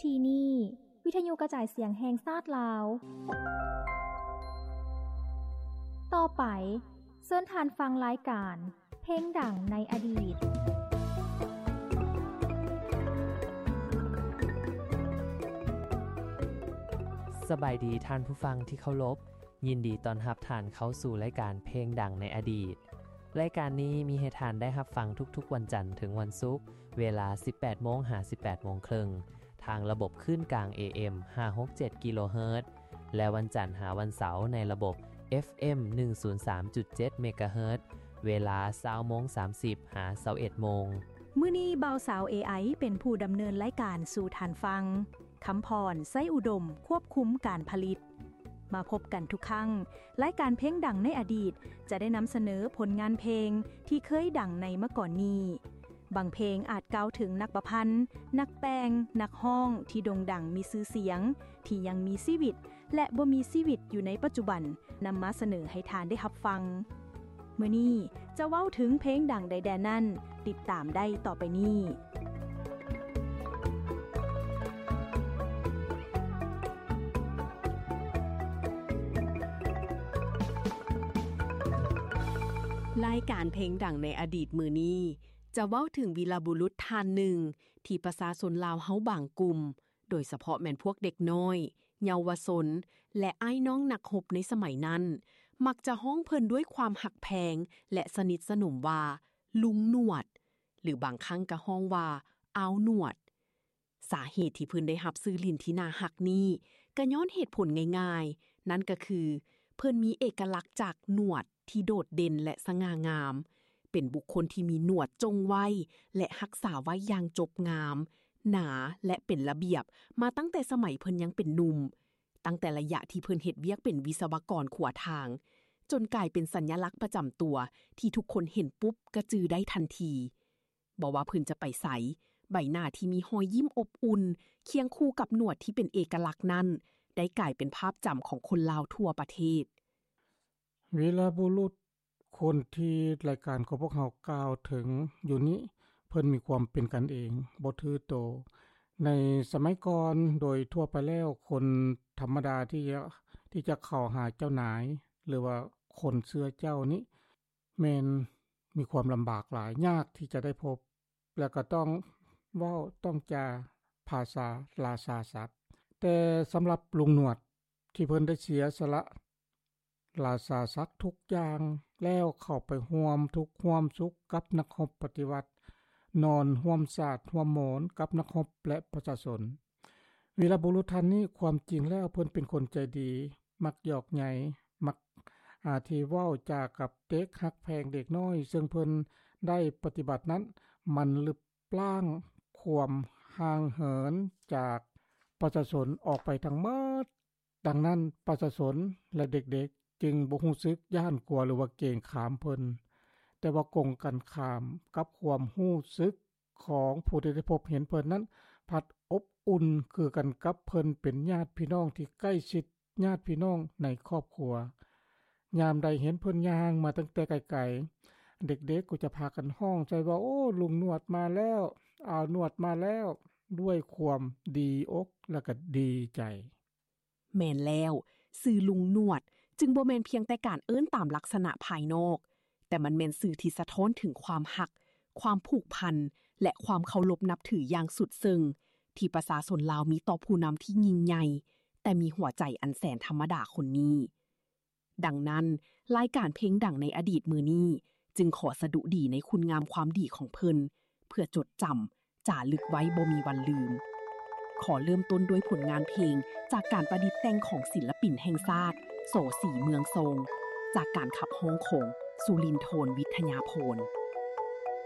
ທີ່ນີ້ ວິທະຍຸກະຈາຍສຽງແຫ່ງຊາດລາວ. ຕໍ່ໄປ, ເຊີນທ່ານຟັງລາຍການ ເພງດັງໃນອະດີດ. ສະບາຍດີທ່ານຜູ້ຟັງທີ່ເຄົາລົບ, ຍິນດີຕ້ອນຮັບທ່ານເຂົ້າສູ່ລາຍການເພງດັງໃນອະດີດ. ລາຍການນີ້ມີໃຫ້ທ່ານໄດ້ຮັບຟັງທຸກໆວັນຈັນເຖິງວັນສຸກ, ເວລາສິບແປດໂມງຫາສິບແປດໂມງເຄິ່ງ ທາງລະບົບຄື້ນກາງ ເອເອັມ ຫ້າຫົກເຈັດ ກິໂລເຮີດ ແລະ ວັນຈັນຫາວັນເສົາໃນລະບົບ ເອັຟເອັມ ໜຶ່ງສູນສາມຈຸດເຈັດ ເມກາເຮີດ ເວລາຊາວໂມງສາມສິບຫາຊາວເອັດໂມງ. ມື້ນີ້ບ່າວສາວ ເອໄອ ເປັນຜູ້ດຳເນີນລາຍການສູ່ທ່ານຟັງ. ຄຳພອນ ໄຊອຸດົມ ຄວບຄຸມການຜະລິດ. ມາພົບກັນທຸກຄັ້ງ, ລາຍການເພງດັງໃນອະດີດຈະໄດ້ນຳສະເໜີຜົນງານເພງທີ່ເຄີຍດັງໃນມາກ່ອນນີ້. ບາງເພງອາດກ່າວເຖິງນັກປະພັນ, ນັກແຕ່ງ, ນັກຮ້ອງທີ່ໂດ່ງດັງມີຊື່ສຽງ, ທີ່ຍັງມີຊີວິດ ແລະ ບໍ່ມີຊີວິດຢູ່ໃນປັດຈຸບັນ, ນຳມາສະເໜີໃຫ້ທ່ານໄດ້ຮັບຟັງ. ມື້ນີ້ຈະເວົ້າເຖິງເພງດັງໃດແດ່ນັ້ນ, ຕິດຕາມໄດ້ຕໍ່ໄປນີ້. ລາຍການເພງດັງໃນອະດີດມື້ນີ້ ຈະເວົ້າເຖິງວີລະບຸລຸດທ່ານໜຶ່ງ ທີ່ປະຊາຊົນລາວເຮົາບາງກຸ່ມ ໂດຍສະເພາະແມ່ນພວກເດັກນ້ອຍ, ເຍົາວະຊົນ ແລະ ອ້າຍນ້ອງນັກຮົບໃນສະໄໝນັ້ນ ມັກຈະຮ້ອງເພິ່ນດ້ວຍຄວາມຮັກແພງ ແລະ ສະໜິດສະໜົມວ່າ ລຸງໜວດ ຫຼື ບາງຄັ້ງກໍຮ້ອງວ່າ ອາວໜວດ. ສາເຫດທີ່ເພິ່ນໄດ້ຮັບຊື່ຫຼິ້ນທີ່ໜ້າຮັກນີ້ ກໍຍ້ອນເຫດຜົນງ່າຍໆ, ນັ້ນກໍຄື ເພິ່ນມີເອກະລັກຈາກໜວດ ທີ່ໂດດເດັ່ນ ແລະ ສະຫງ່າງາມ, ເປັນບຸກຄົນທີ່ມີໜວດຈົ່ງໄວ້ ແລະ ຮັກສາໄວ້ຢ່າງຈົບງາມ, ໜາ ແລະ ເປັນລະບຽບ ມາຕັ້ງແຕ່ສະໄໝເພິ່ນຍັງເປັນໜຸ່ມ, ຕັ້ງແຕ່ໄລຍະທີ່ເພິ່ນເຮັດວຽກເປັນວິສະວະກອນຂົວທາງ, ຈົນກາຍເປັນສັນຍະລັກປະຈຳຕົວທີ່ທຸກຄົນເຫັນປຸບກໍຈື່ໄດ້ທັນທີ. ບໍ່ວ່າເພິ່ນຈະໄປໃສ, ໃບໜ້າທີ່ມີຮອຍຍິ້ມອົບອຸ່ນ ຄຽງຄູ່ກັບໜວດທີ່ເປັນເອກະລັກນັ້ນ ໄດ້ກາຍເປັນພາບຈຳຂອງຄົນລາວທົ່ວປະເທດ. ວີລະບຸລຸດ ຄົນທີ່ລາຍການຂອງພວກເຮົາກ່າວເຖິງຢູ່ນີ້ ເພິ່ນມີຄວາມເປັນກັນເອງ, ບໍ່ຖືໂຕ. ໃນສະໄໝກ່ອນ, ໂດຍທົ່ວໄປແລ້ວ, ຄົນທຳມະດາທີ່ຈະ, ທີ່ຈະເຂົ້າຫາເຈົ້ານາຍ ຫຼືວ່າຄົນເຊື້ອເຈົ້ານີ້ ແມ່ນມີຄວາມລຳບາກຫຼາຍ, ຍາກທີ່ຈະໄດ້ພົບ. ແລ້ວກໍຕ້ອງເວົ້າຕ້ອງຈາພາສາລາຊາສັກ. ແຕ່ສຳລັບລຸງໜວດທີ່ເພິ່ນໄດ້ເສຍສະຫຼະລາຊາສັກທຸກຢ່າງ ແລ້ວເຂົ້າໄປຮ່ວມທຸກຮ່ວມສຸກກັບນັກຮົບປະຕິວັດ, ນອນຮ່ວມສາດຮ່ວມໝອນກັບນັກຮົບ ແລະ ປະຊາຊົນ. ວີລະບຸລຸດທ່ານນີ້ ຄວາມຈິງແລ້ວເພິ່ນເປັນຄົນໃຈດີ, ມັກຫຍອກໃຍ, ມັກ ອາ ທີ່ເວົ້າຈາກັບເດັກ, ຮັກແພງເດັກນ້ອຍ, ເຊິ່ງເພິ່ນໄດ້ປະຕິບັດນັ້ນ ມັນລຶບລ້າງຄວາມຫ່າງເຫີນຈາກປະຊາຊົນອອກໄປທັງໝົດ. ດັ່ງນັ້ນ, ປະຊາຊົນ ແລະ ເດັກໆ ຈຶ່ງບໍ່ຮູ້ສຶກຢ້ານກົວ ຫຼືວ່າເກງຂາມເພິ່ນ, ແຕ່ວ່າກົງກັນຂ້າມກັບຄວາມຮູ້ສຶກ ຂອງຜູ້ທີ່ໄດ້ພົບເຫັນເພິ່ນນັ້ນ ພັດອົບອຸ່ນຄືກັນກັບເພິ່ນເປັນຍາດພີ່ນ້ອງທີ່ໃກ້ຊິດ, ຍາດພີ່ນ້ອງໃນຄອບຄົວ. ຍາມໃດເຫັນເພິ່ນຍ່າງມາຕັ້ງແຕ່ໄກໆ, ເດັກໆກໍຈະພາກັນຮ້ອງໃສ່ວ່າ, ໂອ້, ລຸງໜວດມາແລ້ວ, ອາວໜວດມາແລ້ວ, ດ້ວຍຄວາມດີອົກ ແລະ ກໍດີໃຈ. ແມ່ນແລ້ວ, ຊື່ລຸງໜວດຈຶ່ງບໍ່ແມ່ນພຽງແຕ່ການເອີ້ນຕາມລັກສະນະພາຍນອກ, ແຕ່ມັນແມ່ນຊື່ທີ່ສະທ້ອນເຖິງຄວາມຮັກ, ຄວາມຜູກພັນ ແລະ ຄວາມເຄົາລົບນັບຖືຢ່າງສຸດເຊິ່ງ ທີ່ປະຊາຊົນລາວມີຕໍ່ຜູ້ນຳທີ່ຍິ່ງໃຫຍ່, ແຕ່ມີຫົວໃຈອັນແສນທຳມະດາຄົນນີ້. ດັ່ງນັ້ນ, ລາຍການເພງດັງໃນອະດີດມື້ນີ້ ຈຶ່ງຂໍສະດຸດີໃນຄຸນງາມຄວາມດີຂອງເພິ່ນ ເພື່ອຈົດຈຳ ຈາລຶກໄວ້ບໍ່ມີວັນລືມ. ຂໍເລີ່ມຕົ້ນດ້ວຍຜົນງານເພງຈາກການປະດິດແຕ່ງຂອງສິນລະປິນແຫ່ງຊາດ ສ. ສີ ເມືອງຊົງ, ຈາກການຂັບຮ້ອງຂອງ ສຸລິນໂທນ ວິທະຍາພອນ.